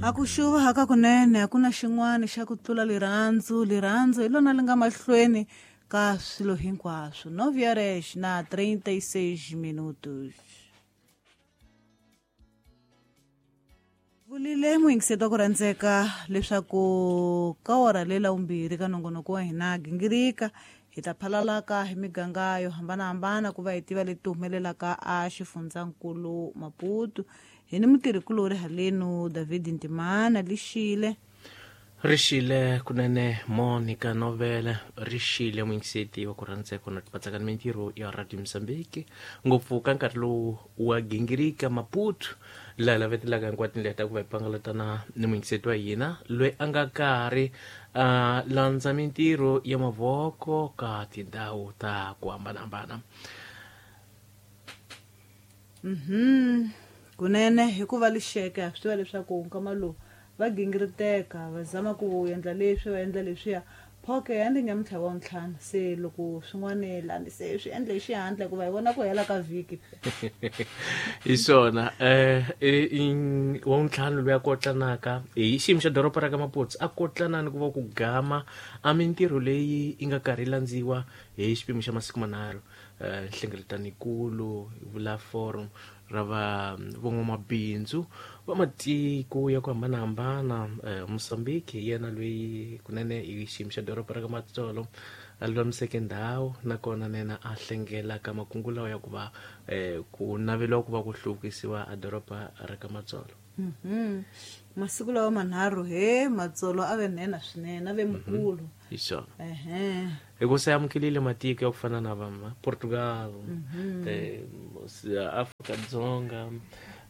A ku xuva hakakunene a ku na xin'wana xa ku tlula lirhandzu. Lirhandzu hi lona li nga mahlweni ka swilo hinkwaswo. 9 horas na 36 minutos. Vulile muyingiseti wa ku rhandzeka leswaku ka wora lela vumbirhi ka nongonoko wa hina gingirika hi ta phalalaka hi miganga yo hambanahambana ku va hi tiva leti humelelaka a xifundzankulu Maputo. Hi ni mutirhikulori halenu David Ntimana lixile. Rixile kunene Monica Novele, rixile muyingiseti wa ku rhandzeka na tipatsaka ni mintirho ya Radio Mozambique, ngopfu ka nkarhi lowu wa gingirika Maputo, laha lavetelaka hinkwato tindlela ta ku va hi pangalatana ni muyingiseti wa hina loyi a nga karhi a landza mintirho ya mavoko ka tindhawu ta ku hambanahambana. Kunene hikuva lixeke ha swi tiva leswaku nkama lowu va gingiriteka va zama ku endla leswi va endla leswiya phoke ya ndi nyamuntlha wa ntlhanu se loko swin'wana lani se swi endle hi xihatla hikuva hi vona ku hela ka vhiki. Hi swona wa ntlhanu loyi a kotlanaka hi xiyimo xa doroba ra ka Maputo a kotlanani ku va ku gama a mintirho leyi yi nga karhi yi landziwa hi xipimo xa masiku manharhu. Nhlengeletano vula forum ra va van'wamabindzu va matiko ya ku hambanahambana. Mozambique hi yena loyi kunene hi xiyimo xa doroba ra ka Matsolo a lulamiseke ndhawu nakona nena a hlengelaka makungu lawa ya ku va ku naveliwa ku va ku hluvukisiwa a doroba ra ka Matsolo. Masiku lawa manharhu he Matsolo a ve nhenha swinene, a ve mukulu. Hi swona. Hikuva se amukelile matiko ya ku fana na va Portugal, Afrika-Dzonga,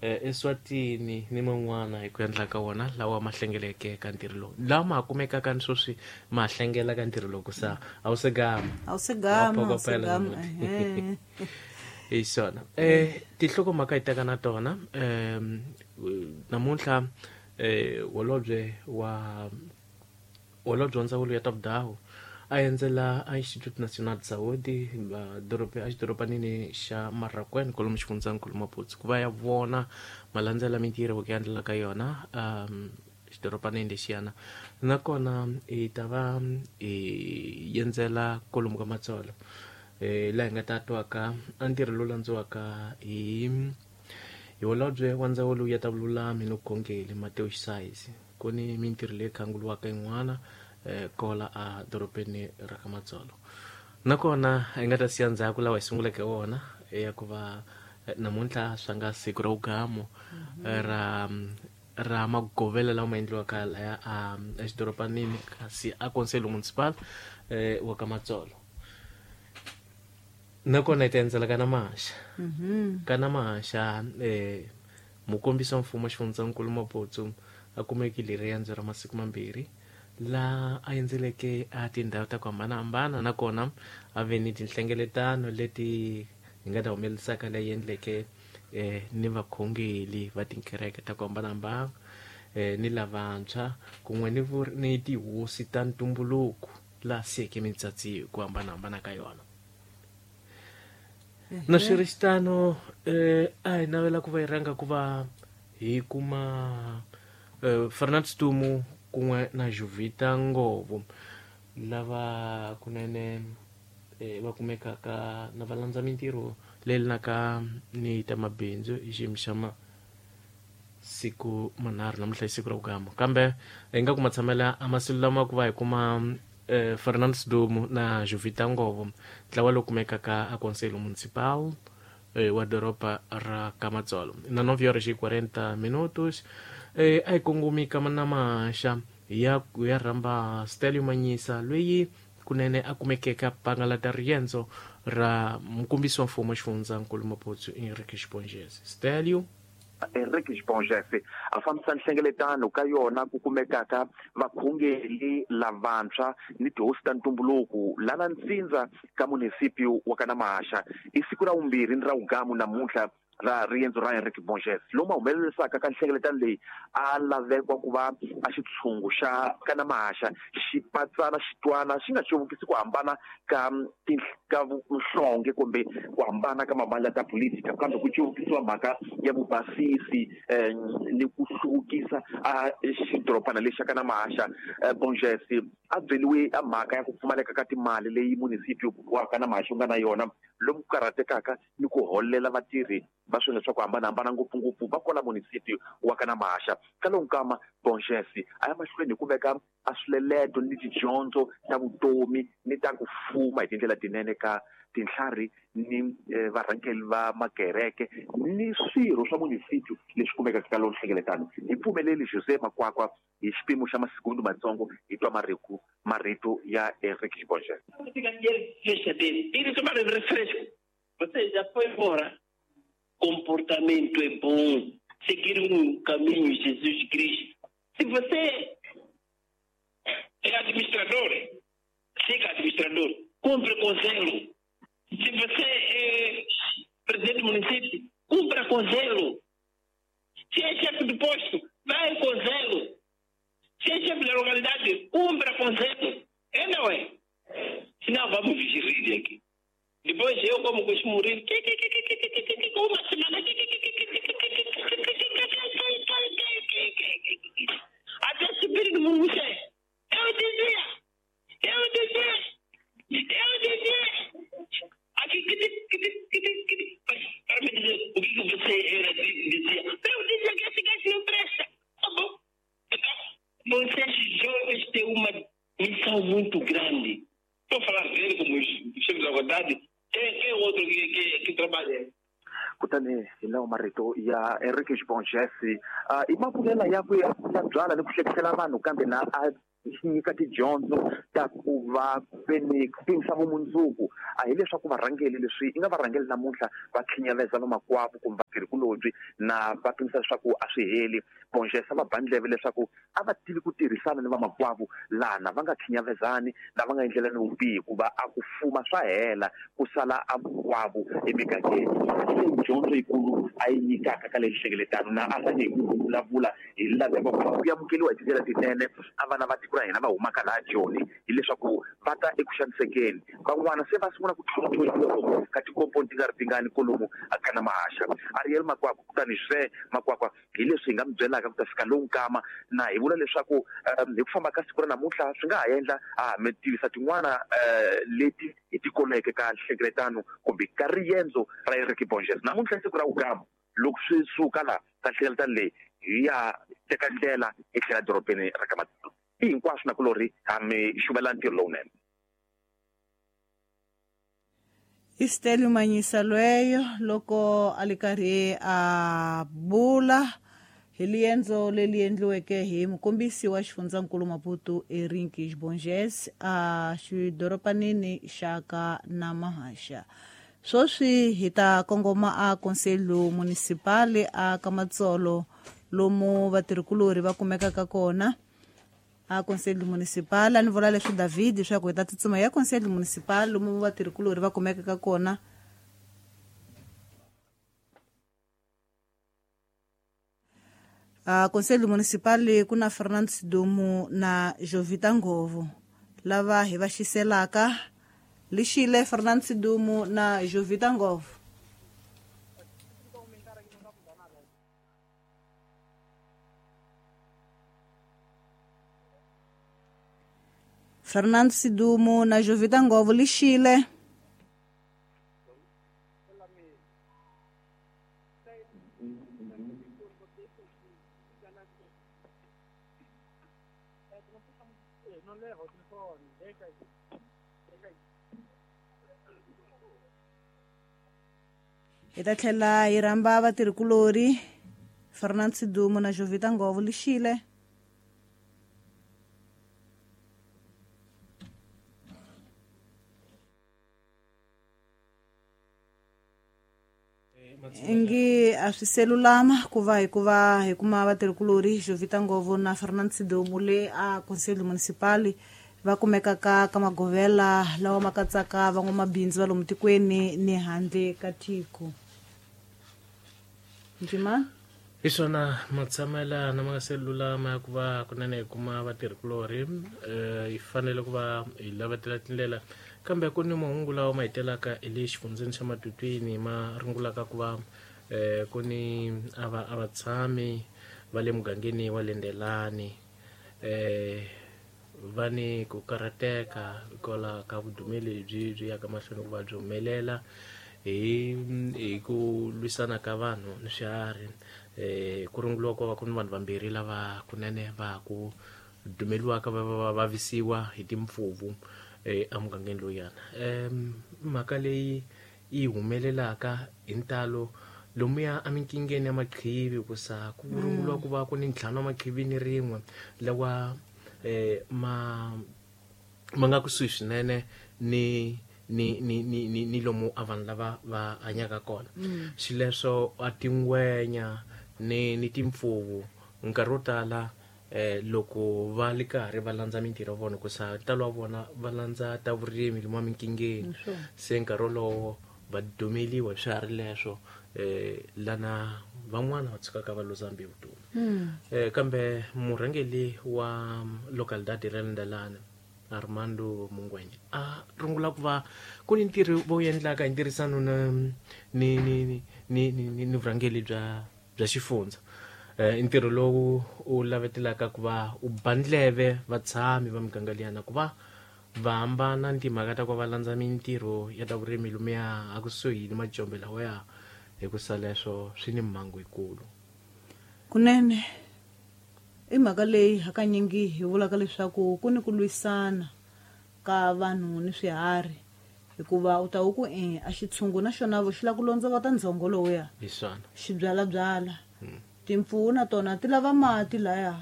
Eswatini ni man'wana hi ku endla ka wona lawa ma hlengeleke ka ntirho lowu, lawa ma ha kumekaka ni sweswi ma hlengela ka ntirho lowu ku sa a wu se gama. A wu se gama, a wu se gama. Hi swona. Tinhlokomhaka hi teka na tona namuntlha holobye wa ndzawulo ya ta vudawu a endzela a Instituto Nacional de Saúde a xidorobanini xa Marracuene kwalomu xifundzankulu Maputo ku va ya vona malandzela mintirho ku ya endlela ka yona xidorobanini lexiyana. Nakona hi ta va hi endzela kwalomu ka Matsolo laha hi nga ta twaka a ntirho lowu landziwaka hi holobye wa ndzawulo ya ta vululami ni vukhongeri Mateo Xisayisi. Ku ni mintirho leyi khanguliwaka yin'wana kola a dorobeni ra ka Matsolo. Nakona hi nga ta siya ndzhaku lawa hi sunguleke wona ya ku va namuntlha swa nga siku ra vugamo ra magovela lawa ma endliwaka laya a exidorobanini kasi a Conselho Municipal wa ka Matsolo. Nakona hi ta endzela ka Namaxa. Ka Namaxa mukombisi wa mfumo xifundzankulu Maputo a kumekile riendzo ra masiku mambirhi la a endzeleke a tindhawu ta ku hambanahambana, nakona a ve ni tinhlengeletano leti hi nga ta humelerisaka leyi endleke ni vakhongeli va tikereke ta ku hambanahambana ni lavantshwa kun'we ni tihosi ta ntumbuluko laha siyeke mitsatsi hi ku hambanahambana ka yona. Na swi ri xitano a hi navela ku va hi rhanga ku va hi kuma Fernando Stumu kun'we na Juvita Ngovo lava kunene va kumekaka na va landza mintirho leyi lenaka ni ta mabindzu hi xiyimo xa masiku manharhu namuntlha hi siku ra vugama. Kambe hi nga kuma tshamela a masiku lama ku va hi kuma Fernando Stumu na Juvita Ngovo ntlawa lowu kumekaka a Conselho Municipal wa doroba ra ka Matsolo. Na 9 horas e 40 minutos a hi kongumi ka Namaxa ya rhamba Stelio Manyisa loyi kunene a kumekeke a pangalata riendzo ra mukombisi wa mfumo xifundzankulu Maputo Enrique Xibongese. Stelio Enrique Xibongese a fambisa nhlengeletano ka yona ku kumekaka vakhongeli lavantshwa ni tihosi ta ntumbuluko lana ntsindza ka munisipio wa ka Namaxa. I siku ra vumbirhi ni ra vugamu namuntlha. Ra riendzo ra Henrique Borges lomu a humelerisaka ka nhlengeletano leyi a lavekwa ku va a xitshungu xa kana mahaxa xi patsana xitwana xi nga cuvukisi ku hambana ka ka nhlonge kumbe ku hambana ka mavandla ta politika, kambe ku cuvukisiwa mhaka ya vubasisi ni ku hluvukisa a xidorobana lexi xa kana mahaxa. Borges a byeliwe a mhaka ya ku pfumaleka ka timali leyi munisipio wa kana mahaxa wu nga na yona, lomu ku karhatekaka ni ku holela vatirhi va swilo swa ku hambanahambana, ngopfungopfu va kwala munisipio wa kana mahaxa. Ka lowu nkama Borges a ya mahlweni hi ku veka a swileleto ni tidyondzo ta vutomi ni ta ku fuma hi tindlela tinene ka tintlhari ni varhangeri va makereke ni swirho swa munisipio leswi kumekaka ka lowu nhlengeletano. Hi pfumeleli Jose Makwakwa hi xipimo xa masikundu matsongo hi twa marito ya Henrique Borges. Ele tomar refresco. Você já foi embora. Comportamento é bom. Seguir um caminho, Jesus Cristo. Se você é administrador, siga administrador. Cumpre com zelo. Se você é presidente do município, cumpra com zelo. Se é chefe do posto, vai com zelo. Se é chefe da localidade, cumpra com zelo. É, não é? Senão vamos rir aqui. Depois eu, como costumo rir, uma semana, até subir no mundo. Eu dizia, aqui, para me dizer o que você era, dizia. Eu dizia que esse gajo não presta. Tá bom. Então, vocês jovens têm uma missão muito grande. Estou falando dele como chefe da vontade. Quem é outro que trabalha? Kutani hi lawa marito ya Henrique Borges i mavulela yakwe ya byala ni ku hlekisela vanhu, kambe na a nyika tidyondzo ta ku va veni ku pimisa vumundzuku. A hileswaku varhangeli leswi i nga varhangeli namuntlha va khinyaveza vamakwavo kumbe vatirhikulobye na va pimisa leswaku a swi heli. Borges a va ba ndleve leswaku a va tivi ku tirhisana ni vamakwavo lana va nga khinyavezani na va nga endlelani vubihi, hikuva a ku fuma swa hela ku sala a vukwavo emigangeni. Leyi dyondzo yikulu a yi nyikaka ka leyi nhlengeletano na a rhange hi ku vulavula hi laveko ku amukeriwa hi tindlela tinene a vana va tiko ra hina va humaka laha Joni, hileswaku va ta eku xanisekeni. Van'wana se va sungula ku tlhontlholiwa ka tikomponi ti nga ri tingani kolomu a kana mahaxa. Ariel Makwakwa kutani Jose Makwakwa hi leswi hi nga mi byelaka ku ta fika lowu nkama, na hi vula leswaku hi ku famba ka siku ra namuntlha swi nga ha endla a mi tivisa tin'wana leti hi ti koleke ka nhlengeletano kumbe ka riendzo ra Henrique Borges. Namuntlha siku ra vukama loko swi suka laha ka nhlengeletano leyi hi ya teka ndlela hi tlhela dorobeni ra ka Matsolo. I hinkwaswo na kulori ha mi xuvela ntirho lowunene. Isitelu Manyisa lweyo loko a li karhi a bula hi liendzo leri endliweke hi mukombisi wa xifundzankulu Maputo Henrique Borges a xidoropanini xa ka Namahaxa. Sweswi hi ta kongoma a Conselho Municipal a Kamatsolo lomu vatirhikulori va kumekaka kona a Conselho Municipal. A ni vula leswi David leswaku hi ta tsutsuma ya Conselho Municipal lomu vatirhikulori va kumekaka kona. A Conselho Municipal ku na Fernando Sidumo na Jovita Ngovo lava hi va xiselaka. Lixile Fernando Sidumo na Jovita Ngovo. Fernando Sidumo na Jovita Ngovo, lixile. Hi ta tlhela hi rhamba vatirhikulori Fernando Sidumo na Jovita Ngovo, lixile. Ngi a swi selulama ku va hikuva hi kuma vatirhikulori Jovita Ngovo na Fernando Sidumo le a Conselho Municipal va kumekaka ka magovela lawa ma katsaka van'wamabindzu va lomu tikweni ni handle ka tiko. Njima hi swona matshamela na ma nga se lulama ya ku va kunene hi kuma vatirhikulorhi hi fanele ku va hi lavetela tindlela kambe ku ni mahungu lawa ma hi telaka hi le xifundzeni xa Matutwini ma rungulaka ku va ku ni a vatshami va le mugangeni wa Lendelani va ni ku karhateka hikwalaho ka vudumeli lebyi byi yaka mahlweni ku va byi humelela hi ku lwisana ka vanhu ni swiharhi. Ku runguliwa ku va ku ni vanhu vambirhi lava kunene va ku dumeliwaka va vavisiwa hi timpfuvu emugangeni lowuyana. Mhaka leyi yi humelelaka hi ntalo lomuya eminkingeni ya maqhivi ku sa ku runguliwa ku va ku ni ntlhanu wa maqhivi ni rin'we lawa ma nga kusuhi swinene ni ni ni ni ni ni lomu a vanhu lava va hanyaka kona. Xileswo a tingwenya ni timpfuvu nkarhi wo tala loko va li karhi va landza mintirho ya vona ku sa ntalo wa vona va landza ta vurimi lomu eminkingeni se nkarhi wolowo va dumeliwa hi swiharhi leswo lana van'wana va tshukaka va luza mbilu vutomi. Kambe murhangeli wa localidade ra Lendelani Armando Mungwenya a rungula ku va ku ni ntirho vo endlaka hi ntirhisano na ni ni ni ni ni vurhangeli bya xifundza. Ntirho lowu u lavetelaka ku va u bandleve vatshami va miganga liyana ku va va hambana ni timhaka ta ku va landza mintirho ya ta vurimi lomuya a kusuhi ni majombe lawaya hi ku sa leswo swi ni mhangu yikulu. Kunene i mhaka leyi hakanyingi hi vulaka leswaku ku ni ku lwisana ka vanhu ni swiharhi hikuva u ta wu ku a xitshungu na xona vo xi lava ku londzovota ndzhongo lowuya hi swona xi byalabyala. Timpfuvu na tona ti lava mati laya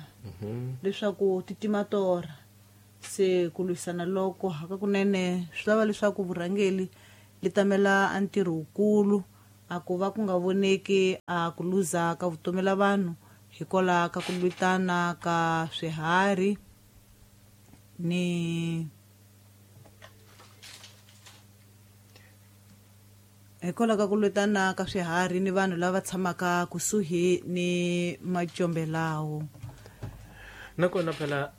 leswaku ti tima torha. Se ku lwisana loko hakakunene swi lava leswaku vurhangeli li tamela a ntirho wukulu a ku va ku nga voneki a ku luza ka vutomi la vanhu hikwalaho ka ku lwitana ka swiharhi ni hikwalaho ka ku lwitana ka swiharhi ni vanhu lava tshamaka kusuhi ni majombe lawo. Nakona phela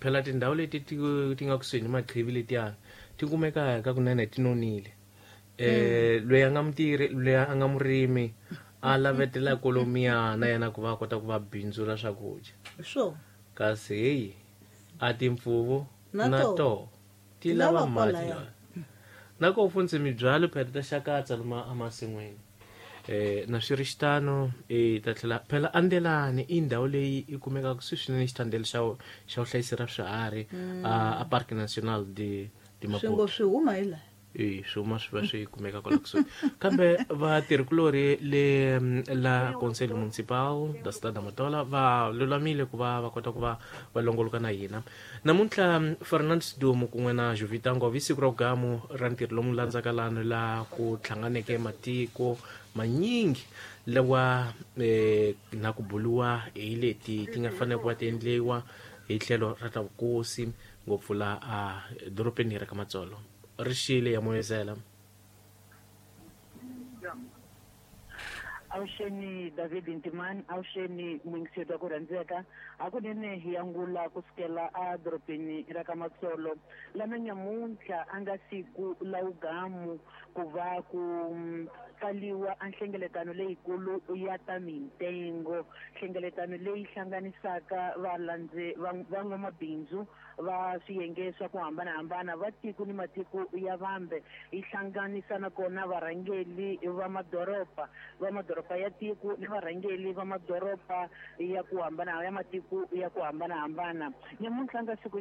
phela tindhawu leti ti nga kusuhi ni maqhivi letiyana ti kumeka ka kunene ti nonile. Loyi a nga mutirhi loyi a nga murimi a lavetela kolomiyana yena ku va a kota ku va bindzula swakudya. Swo kasi heyi a timpfuvu na to ti lava mati lawa. Na ko fundze mibyalo phela ta xakatsa loma emasin'wini. Na swi ri xitano ta tlhela phela Andelani i ndhawu leyi yi kumekaka kusuhi swinene xitandele xa xa vuhlayisi ra swiharhi a Parc National de Maputo. Swi ngo swi huma hi laha. Swi huma swi va swi kumeka kwala kusuhi. Kambe vatirhikulorhi le la Conselho Municipal da Cidade da Matola va lulamile ku va va kota ku va va longoloka na hina. Namuntlha Fernando Sidumo kun'we na Jovita Ngove siku ra vugamu ra ntirho lomu landzaka lano la ku hlanganeke matiko manyingi lawa na ku buluwa hi leti ti nga fanele ku va ti endliwa hi tlhelo ra ta vukosi ngopfu la a dorobeni ra ka Matsolo. Rixile ya moyezela. Awuxeni David Ntimani, awuxeni muyingiseri wa ku rhandzeka. Hakunene hi angula kusukela a dorobeni ra ka Matsolo lana nyamuntlha a nga siku la wugamu ku va ku pfaliwa a nhlengeletano leyikulu ya ta mintengo, nhlengeletano leyi hlanganisaka valandze van'wamabindzu va swiyenge swa ku hambanahambana va tiko ni matiko ya vambe. Yi hlanganisa nakona varhangeli va madoroba ya tiko ni varhangeli va madoroba ya ku hambana ya matiko ya ku hambanahambana. Nyamuntlha nga siku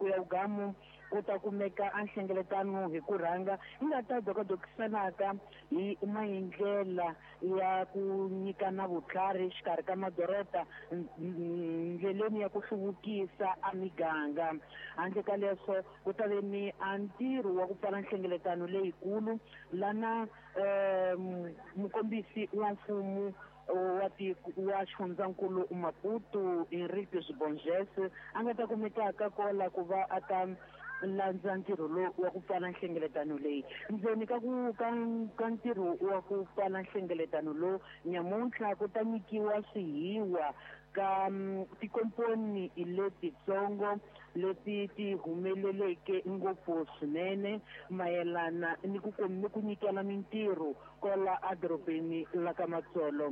ya wugamu ku ta kumeka a nhlengeletano hi ku rhanga yi nga ta dokadokisanaka hi maendlela ya ku nyikana vutlhari exikarhi ka madoroba ndleleni ya ku hluvukisa a miganga. Handle ka leswo ku ta ve ni a ntirho wa ku pfala nhlengeletano leyikulu lana mukombisi wa mfumo wa tiko wa xifundzankulu Maputo Henrique Borges a nga ta kumekaka kola ku va a ta landza ntirho lowu wa ku pfala nhlengeletano leyi. Ndzeni ka ku ka ntirho wa ku pfala nhlengeletano lowu nyamuntlha ku ta nyikiwa swihiwa ka tikomponi letitsongo leti ti humeleleke ngopfu swinene mayelana ni ku ni ku nyikela mintirho kwala edorobeni la ka Matsolo.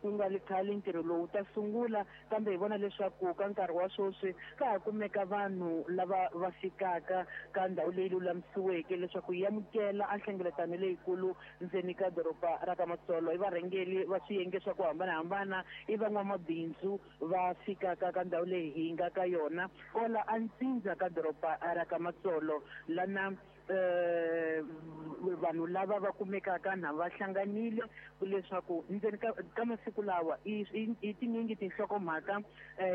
Ku nga ri khale ntirho lowu ta sungula, kambe hi vona leswaku ka nkarhi wa sweswi ka ha kumeka vanhu lava va fikaka ka ndhawu leyi lulamisiweke leswaku yi amukela a nhlengeletano leyikulu ndzeni ka doroba ra ka Matsolo. I varhangeri va swiyenge swa ku hambanahambana, i van'wamabindzu va fikaka ka ndhawu leyi hi nga ka yona kwala a ntsindza ka doroba ra ka Matsolo, lana vanhu lava va kumekaka na va hlanganile leswaku ndzeni ka masiku lawa i tinyingi tinhlokomhaka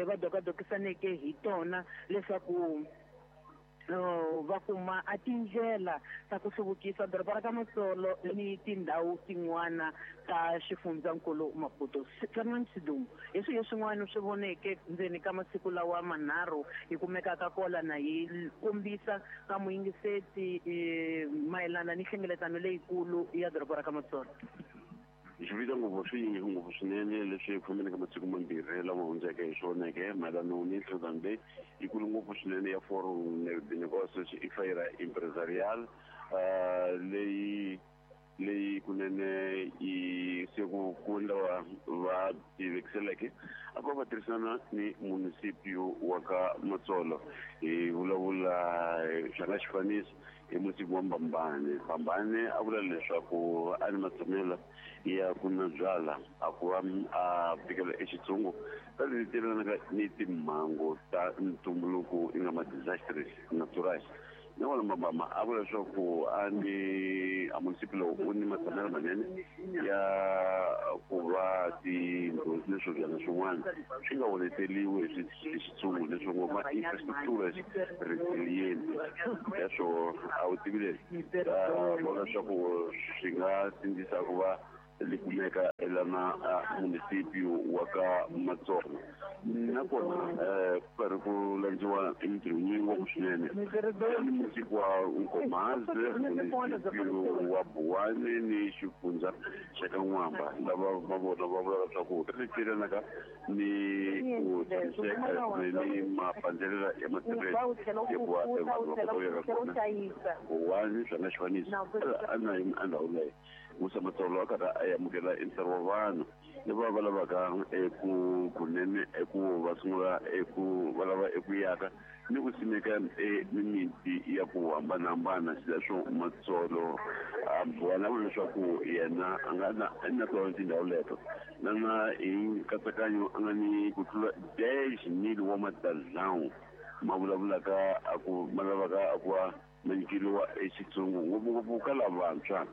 va dokadokisaneke hi tona leswaku va kuma a tindlela ta ku hluvukisa doroba ra ka Matsolo ni tindhawu tin'wana ta xifundzankulu Maputo. Fernand Sidumo, hi swihi swin'wana swi voneke ndzeni ka masiku lawa manharhu hi kumekaka kola na hi kombisa ka muyingiseti mayelana ni nhlengeletano leyikulu ya doroba ra ka Matsolo? Xivita ngopfu swi yingi ngopfu swinene leswi fambeni ka masiku mambirhi lama hundzeke hi swoneke mayelana ni nhlengeletano leyi yikulu ngopfu swinene ya Forum de Negócios e Feira Empresarial, leyi kunene yi se ku ku lava va tivekiseleke a ku va tirhisana ni municipio wa ka Matsolo. Hi vulavula swa nga xifaniso hi munisipi wa Mbambane. Mbambane a vula leswaku a ni matshamela ya ku nwa byala a ku va a fikela exitsungu ka leti tivelanaka ni timhangu ta ntumbuluko i nga ma-disasters natural. Nakona Mbambama a vula leswaku a ni a munisipi lowu u ni matshamelo manene ya ku va tindlu ni swibyana swin'wana swi nga onheteriwi hi xitsungu leswi ngo ma infrastructure resilient. Leswo a wu tivile vona leswaku swi nga sindzisa ku va li kumeka elana municipio wa ka Matsolo. Nakona ku karhi ku landziwa mintirho yingi ngopfu swinene munisipi wa Nkomazi, municipio wa Buwani ni xifundza xa ka N'wamba, lava va vona va vula leswaku ri tirhanaka ni ku tshamiseka ni mapandzelela ya matirhelo ya ku va vanhu va kota ku yaka kona. Buwani swa nga xifaniso a na a ndhawu leyi Musa Matsolo a karhi a amukela ntsari wa vanhu lava va lavaka eku kunene eku va sungula eku va lava eku yaka ni ku simeka mimiti ya ku hambanahambana. Xileswo Matsolo a Buwani a vula leswaku yena a nga na tona tindhawu leto lana hi nkatsakanyo a nga ni ku tlula 10,000 wa matadlawu ma vulavulaka a ku ma lavaka a ku va ma nyikeriwa exitsungu ngopfungopfu ka lavantshwa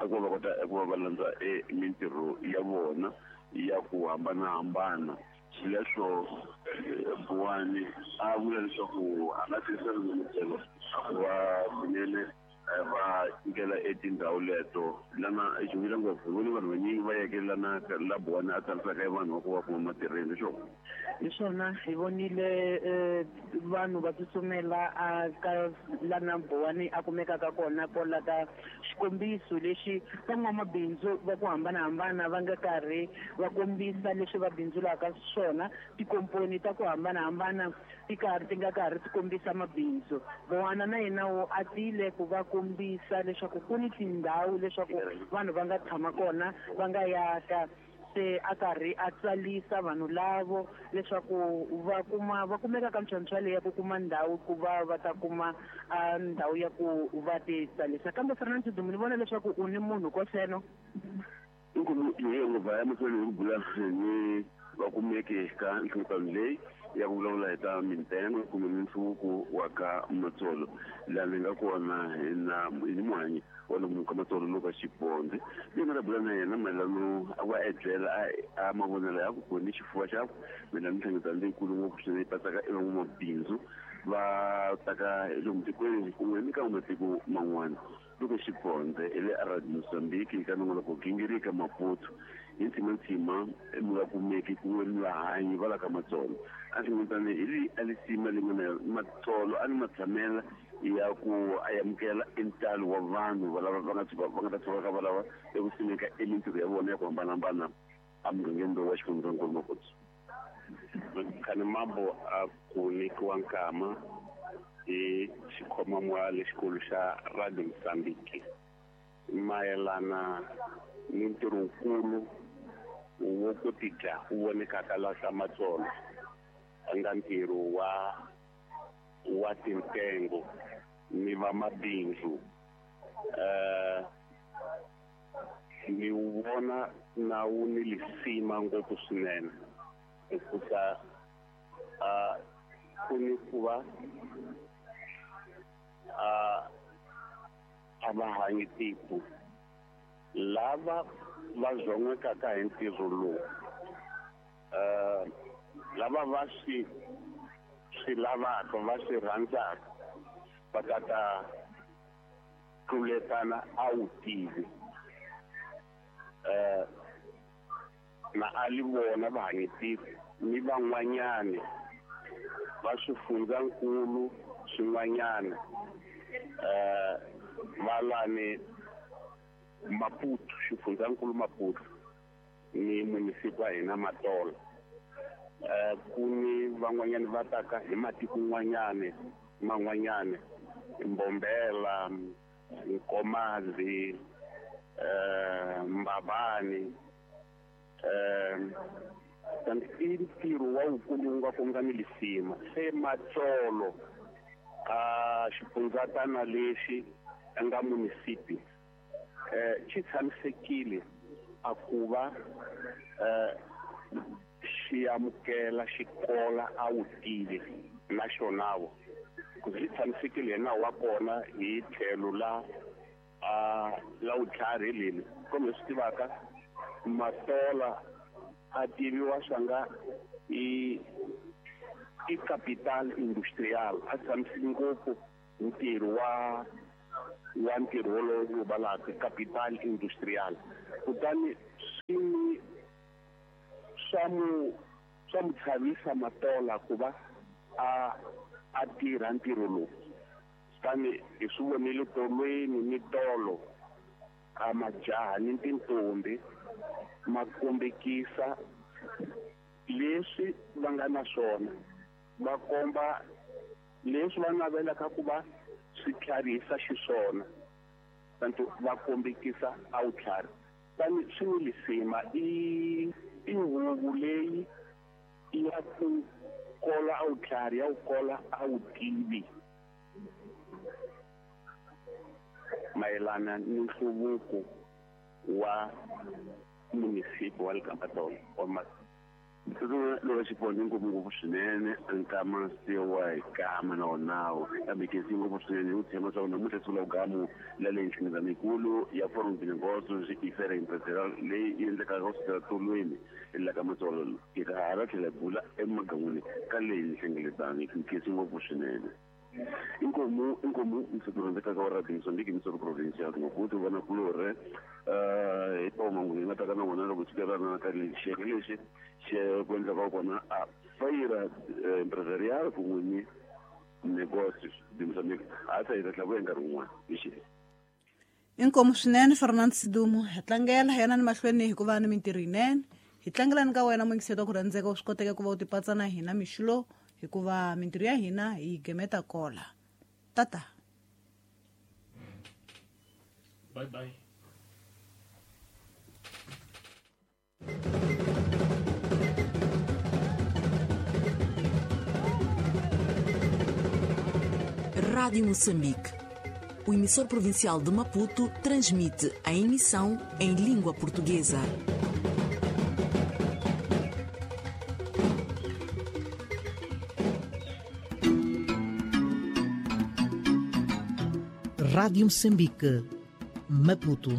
a ku va kota eku va va landza mintirho ya vona ya ku hambanahambana. Xileswo Buwani a vula leswaku a nga tirhisana na Matsolo a ku va kunene va nyikela etindhawu leto lana xivila ngopfu. Hi vone vanhu vanyingi va yeke lana la Buwani a tsarisaka vanhu va ku va kuma matirhelo xo. Hi swona hi vonile vanhu va tsutsumela a ka lana Buwani a kumekaka kona kwala ka xikombiso lexi van'wamabindzu va ku hambanahambana va nga karhi va kombisa leswi va bindzulaka swona. Tikomponi ta ku hambanahambana ti karhi ti nga karhi ti kombisa mabindzu. Buwana na yena wo a tile ku va kombisa leswaku ku ni tindhawu leswaku vanhu va nga tshama kona va nga yaka, se a karhi a tsalisa vanhu lavo leswaku va kuma va kumeka ka mintlhontlho leyi ya ku kuma ndhawu ku va va ta kuma ndhawu ya ku va ti tsalisa. Kambe Fernand Sidumo, ni vona leswaku u ni munhu koseno. Inkulu yo ngopfu ya mahlweni hi ku bula ni va kumeke ka nhlengeletano leyi ya ku vulavula hi ta mintengo kumbe minhluvuko wa ka Matsolo. Laha ni nga kona hi na hi ni muhanyi wa lomu ka Matsolo Luka Xibondze, leyi nga ta bula na yena mayelano a va ebyela a mavonelo ya ku ni xifuva xaku mayelana nhlengeletano leyikulu ngopfu swinene yi patsaka e van'wamabindzu va taka hi lomu tikweni kun'we ni ka matiko man'wana. Luka Xibondze hi le Arad Mozambique ka nongonoko Gingirika Maputo. Hi ntsimantsima mi nga kumeki kun'we ni vahanyi va la ka Matsolo. A nhlengeletano hi leyi a lisima leyi nga na Matsolo a ni matshamela ya ku a amukela entalo wa vanhu va lava va nga tshuka va nga ta tshuka va lava eku simeka emintirho ya vona ya ku hambanahambana emugangeni lowu wa xifundzankulu Makotsi. Khani Mambo a ku nyikiwa nkama hi xikhomamwa lexikulu xa Radio Mozambique mayelana ni ntirho wukulu wo ku tidla wu vonekaka la ka Matsolo, a nga ntirho wa tintengo ni vamabindzu. Ni wu vona na wu ni lisima ngopfu swinene, hikusa ku ni ku va a va hanyi tiko lava va zon'wekaka hi ntirho lowu, lava va swi lavaka va swi rhandzaka va ta ta tluletana a wu tivi. Na a li vona va hanyi tiko ni van'wanyani va swifundzankulu swin'wanyana, va lani Maputo, xifundzankulu Maputo ni munisipi wa hina Matola. Ku ni van'wanyani va taka hi matiko n'wanyani man'wanyani, Mbombela, Nkomazi, Mbabane. I ntirho wa wukulu wu nga ku nga ni lisima. Se Matsolo a xifundzatana lexi a nga munisipi xi tshamisekile a ku va xi amukela xikola a wu tivi na xonavo, ku xi tshamisekile hi nawu wa kona hi tlhelo la la vutlhari leli. Kumbe swi tivaka Matola a tiviwa swanga i capital industrial, a tshamisile ngopfu ntirho wa ntirho wolowo wu valaka capital industrial. Kutani swi swa mu chavisa Matola ku va a tirha ntirho lowu. Kutani hi swi vonile tolweni ni tolo a majaha ni tintombi ma kombekisa leswi va nga na swona, va komba leswi va navelaka ku va swi tlharihisa xiswona, kanti va kombekisa a wu tlhari. Tani swi ni lisima i huvu leyi ya ku kola a wu tlhari, ya ku kola a wu tivi mayelana ni nhluvuko wa munisipi wa le ka Matsolo wa Loko xipondzo ngopfungopfu swinene nkama se wa hi kama na wonawo, kambe kesi ngopfu swinene hi ku tshemba leswaku namuntlha siku la vugamu la leyi nhlengeletano yikulu ya Forum de Negócios i Feira Empresarial leyi yi endlekaka kusukela tolweni la ka Matsolo hi ta hala tlhela hi bula emagan'wini ka leyi nhlengeletano kesi ngopfu swinene. Inkomu msoko rhandzekaka wa Radio Mozambique msoko provincial Maputo vana kulorhe hi toma hi nga ta ka na wona loko tshikelana ka xiyenge lexi xe ku endlaka kona a Feira Empresarial kun'we ni Negócios de Mozambique. A ta hi ta tlhela vuya nkarhi wun'wana hi xi. Inkomu swinene Fernand Sidumo, hi tlangela yena ni mahlweni hikuva ni mintirho yinene. Hi tlangelani ka wena muyingiseri wa ku rhandzeka u swi koteka ku va u tipatsa na hina mixo hikuva mintirho ya hina hi gemeta kola. Tata. Bye bye. Rádio Moçambique. O emissor provincial de Maputo transmite a emissão em língua portuguesa. Rádio Moçambique, Maputo.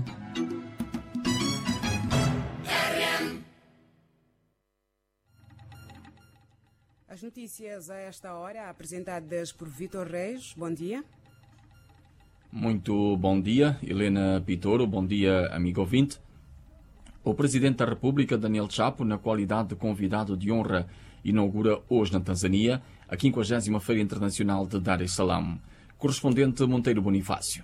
As notícias a esta hora, apresentadas por Vítor Reis. Bom dia. Muito bom dia, Helena Pitoro. Bom dia, amigo ouvinte. O Presidente da República, Daniel Chapo, na qualidade de convidado de honra, inaugura hoje na Tanzânia a 50ª Feira Internacional de Dar es Salaam. Correspondente Monteiro Bonifácio.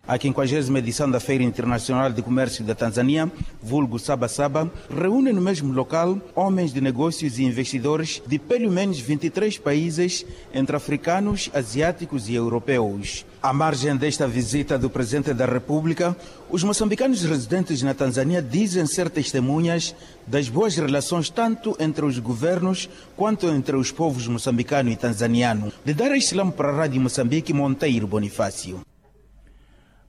A 50ª edição da Feira Internacional de Comércio da Tanzânia, vulgo Saba Saba, reúne no mesmo local homens de negócios e investidores de pelo menos 23 países, entre africanos, asiáticos e europeus. À margem desta visita do Presidente da República, os moçambicanos residentes na Tanzânia dizem ser testemunhas das boas relações tanto entre os governos quanto entre os povos moçambicano e tanzaniano. De Dar es Salaam para a Rádio Moçambique, Monteiro Bonifácio.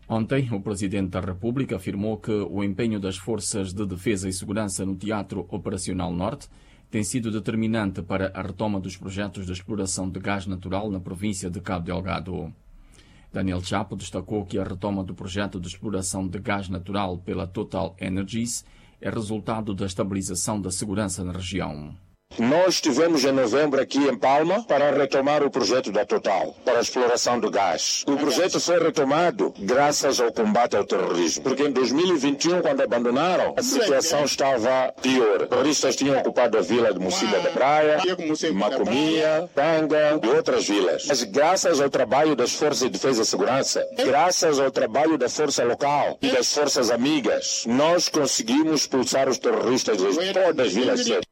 Ontem, o Presidente da República afirmou que o empenho das Forças de Defesa e Segurança no Teatro Operacional Norte tem sido determinante para a retoma dos projetos de exploração de gás natural na província de Cabo Delgado. Daniel Chapo destacou que a retoma do projeto de exploração de gás natural pela Total Energies é resultado da estabilização da segurança na região. Nós estivemos em novembro aqui em Palma para retomar o projeto da Total, para a exploração do gás. O projeto foi retomado graças ao combate ao terrorismo, porque em 2021, quando abandonaram, a situação estava pior. Terroristas tinham ocupado a vila de Mocimboa da Praia, Macomia, Tanga e outras vilas. Mas graças ao trabalho das Forças de Defesa e Segurança, graças ao trabalho da Força Local e das Forças Amigas, nós conseguimos expulsar os terroristas de todas as vilas.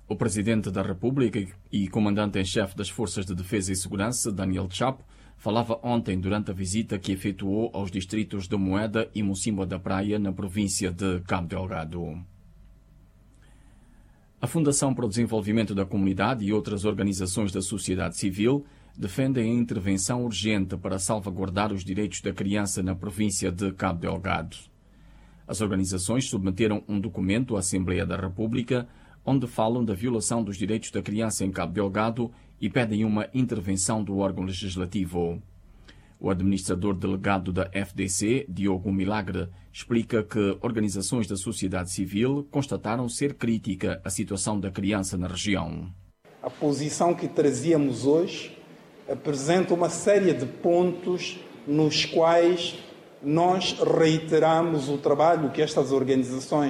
O Presidente da República e Comandante-em-Chefe das Forças de Defesa e Segurança, Daniel Chapo, falava ontem durante a visita que efetuou aos distritos de Moeda e Mocimboa da Praia, na província de Cabo Delgado. A Fundação para o Desenvolvimento da Comunidade e outras organizações da sociedade civil defendem a intervenção urgente para salvaguardar os direitos da criança na província de Cabo Delgado. As organizações submeteram um documento à Assembleia da República onde falam da violação dos direitos da criança em Cabo Delgado e pedem uma intervenção do órgão legislativo. O administrador delegado da FDC, Diogo Milagre, explica que organizações da sociedade civil constataram ser crítica a situação da criança na região. A posição que trazíamos hoje apresenta uma série de pontos nos quais nós reiteramos o trabalho que estas organizações